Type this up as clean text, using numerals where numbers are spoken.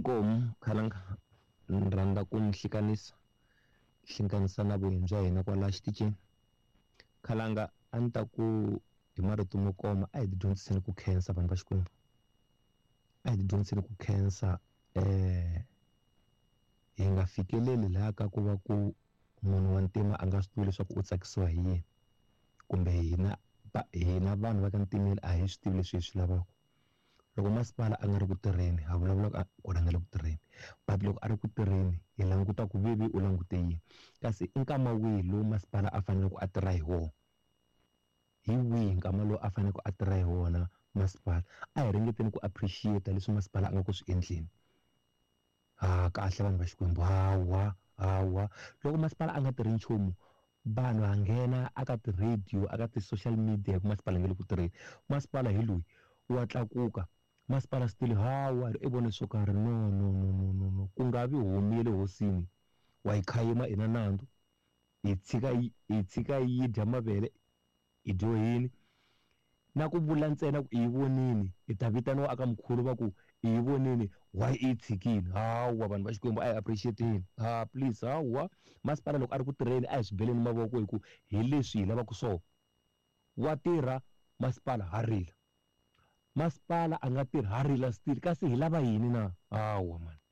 Inkomu khalanga ni rhandza ku mi hlanganisa hlanganisa na vuhini bya hina kwala xitichini. Khalanga a ni ta ku hi marito mo koma a hi ti dyondziseni ku khensa vanhu va Xikwembu. A hi ti dyondziseni ku khensa hi nga fikeleli laha ka ku va ku munhu wa ntima a nga swi tivi leswaku u tsakisiwa hi yini kumbe hina hina vanhu va ka ntimeni a hi swi tivi leswi hi swi lavaka. Loko masipala a nga ri ku tirheni ha vulavula ku a nga le ku tirheni but loko a ri ku tirheni hi languta ku ve u langute yini kasi i nkama wihi lowu masipala a faneleke a tirha hi wona hi wihi nkama lowu a faneleke a tirha hi wona masipala a hi ringeteni ku appreciate leswi masipala a nga ku swi endleni ha kahle vanhu va Xikwembu hawa hawa loko masipala a nga tirhi nchumu vanhu ha nghena aka ti-radio aka ti-social media hi ku masipala nge le ku tirheni masipala hi loyi wa tlakuka masipala still hawa i vone swo karhi no no no no no no ku nga vi homu ya le hosini wa yi khayima i na nandzu hi tshika hi tshika yi dya mavele hi dyohini na ku vula ntsena ku i yi vonini hi ta vitaniwa aka mkhulu va ku i yi vonini why i yi tshikini hawa vanhu va Xikwembu a hi appreciate-eni ha please hawa masipala loko a ri ku tirheni a hi swi beleni mavoko hi ku hi leswi hi lavaka swona wa tirha masipala ha rila masipala a nga tirhi ha rila still kasi hi lava yini na hawa mani.